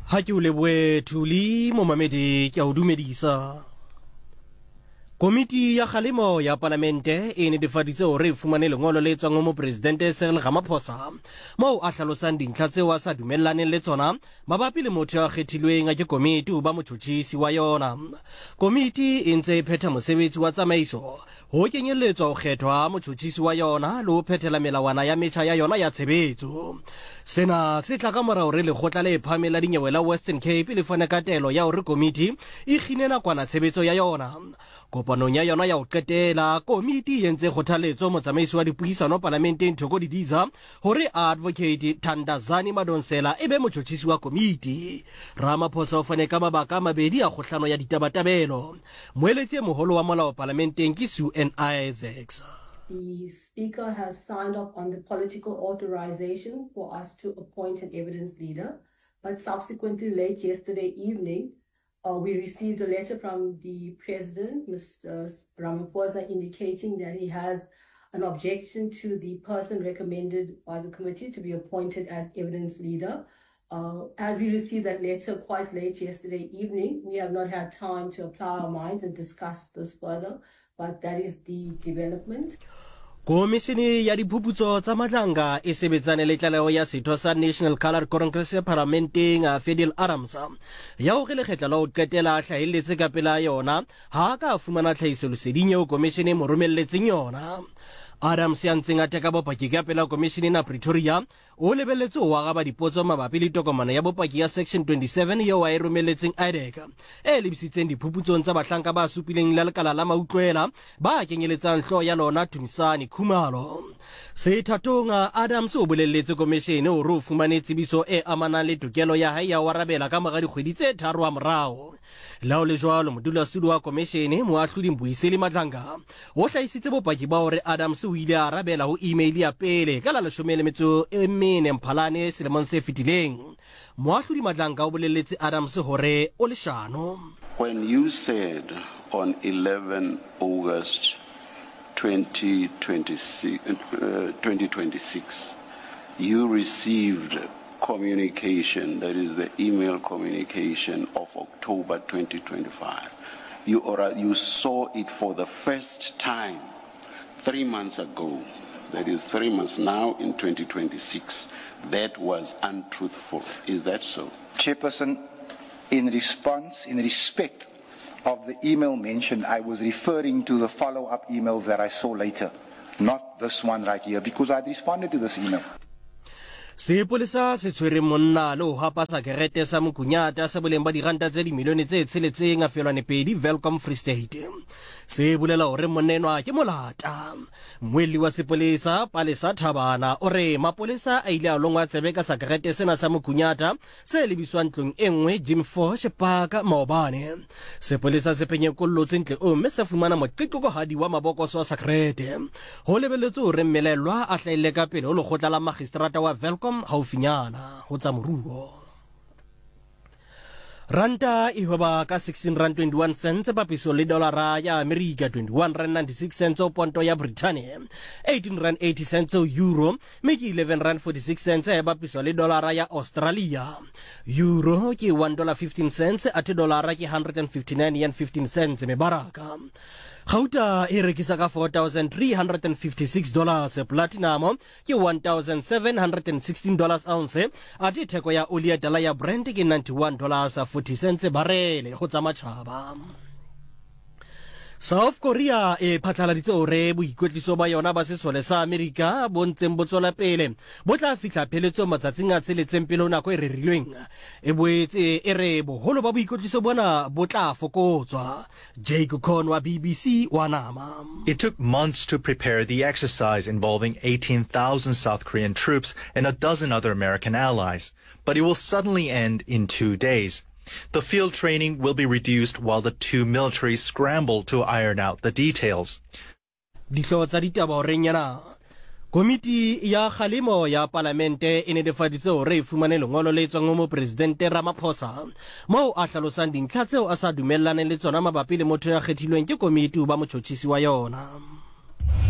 Ha ke o lebohe Thuli, momamedi ke a o dumedisa. Komiti ya kgalemo ya palamente e netefaditse hore e fumane lengolo le tswang ho mopresidente Cyril Ramaphosa moo a hlalosang dintlha tseo a sa dumellaneng le tsona mabapi le motho ya kgethilweng ke komiti ho ba motjhotjhisi wa yona. Komiti e ntse e phetha mosebetsi wa tsamaiso ho kenyelletswa ho kgethwa ha motjhotjhisi wa yona le ho phethela melawana ya metjha ya yona ya tshebetso. Sena se tla ka mora hore Lekgotla le Phahameng la Dinyewe la Western Cape le fane ka taelo ya hore komiti e kgine nakwana tshebetso ya yona. Kopanong ya yona ya ho qetela, komiti e entse kgothaletso motsamaisi wa dipuisano palamenteng Thoko Didiza hore Advocate Thandazani Madonsela e be motjhotjhisi wa komiti. Ramaphosa o fane ka mabaka a mabedi a kgohlano ya ditabatabelo. Moeletsi e moholo wa molao palamenteng ke Sue-Ann Isaacs. The Speaker has signed off on the political authorization for us to appoint an evidence leader, but subsequently late yesterday evening, uh, we received a letter from the President, Mr. Ramaphosa, indicating that he has an objection to the person recommended by the committee to be appointed as evidence leader. Uh, as we received that letter quite late yesterday evening, we have not had time to apply our minds and discuss this further, but that is the development. Komishini ya diphuputso tsa Matlanga e sebetsane le tlaleho ya setho sa National Coloured Congress Paramenteng Fadil Adams ya hore lekgetla la ho qetela a hlahelletse ka pela yona ha a ka a fumana tlhahisoleseding eo komishene e mo romelletseng yona. Adams ya ntseng a teka bopaki ka pela komishene ena Pretoria O lebelletswe ho araba dipotso mabapi le tokomane ya bopaki ya Section 27 eo a e romelletseng IDAC e lebisitseng diphuputsong tsa bahlanka ba supileng la lekala la mautlwela ba kenyeletsang hlooho ya lona Tumisani Khumalo. Sethatong, Adams o bolelletse komeshene hore o fumane tsebiso e amanang le tokelo ya hae ya ho arabela ka mora dikgwedi tse tharo hamorao. Le ha ho le jwalo, modulasetulo wa komeshene, Moahlodi Mbuyiseli Madlanga, O hlahisitse bopaki ba hore Adams o ile a arabela ho email ya pele ka la 14 Mphalane selemong se fetileng. Moahlodi Madlanka o boleletse Adams hore o leshano. When you said on 11 August 2026, 2026 you received communication, that is the email communication of October 2025, you, or, you saw it for the first time three months ago, that is three months now in 2026, that was untruthful. Is that so? Chairperson, in response, in respect of the email mentioned, I was referring to the follow-up emails that I saw later, not this one right here, because I responded to this email. Sepolesa se tshwere monna le ho hapa sakerete sa mokunyata sa boleng ba diranta tse dimilione tse tsheletseng a felwane pedi Welkom Free State. Se bolela hore monna enwa ke molata. Mmuelli wa sepolesa Palesa Thabana o re mapolesa a ile a longwa tsebe ka sakerete sena sa mokunyata se lebiswang ntlong e nngwe Jim Fosh Park maobane. Sepolesa se phenyekollotse ntle o mme sa fumana moqeqekohadi wa mabokoso a sakrete. Ho lebelletswe hore mmelaellwa a hlahelle ka pele ho lekgotla la magistrata wa Welkom haufinyana ho tsa moruo. Ranta e hweba ka 16 rand 21 cents papiso le dolara ya Amerika 21 rand 96 cents ho ponto ya Britannia 18 rand 80 cents ho euro mme ke 11 rand 46 cents e bapiswa le dolara ya Australia. Euro ke 1 dollar 15 cents athe dolara ke 159 yen 15 cents mebaraka. Gauta e rekisa ka 4356 dollars, platinum ke 1716 dollars ounce, athe theko ya oli ya tala ya Brent ke 91 dollars 40 cents barele ho tsa matjhaba. South Korea e phatlaladitse hore boikwetliso ba yona ba sesole sa Amerika bo ntseng bo tswela pele bo tla fihla pheletsong matsatsing a tsheletseng pele ho nako e rerilweng. E boetse e re boholo ba boikwetliso bona bo tla fokotswa. Jake Cohn wa BBC wa nama. It took months to prepare the exercise involving 18,000 South Korean troops and a dozen other American allies, but it will suddenly end in two days. The field training will be reduced while the two militaries scramble to iron out the details. Dihlooho tsa ditaba horeng ena. Komiti ya kgalemo ya palamente e netefaditse hore e fumane lengolo le tswang ho Mopresidente Ramaphosa moo a hlalosang dintlha tseo a sa dumellaneng le tsona mabapi le motho ya kgethilweng ke komiti ho ba motjhotjhisi wa yona.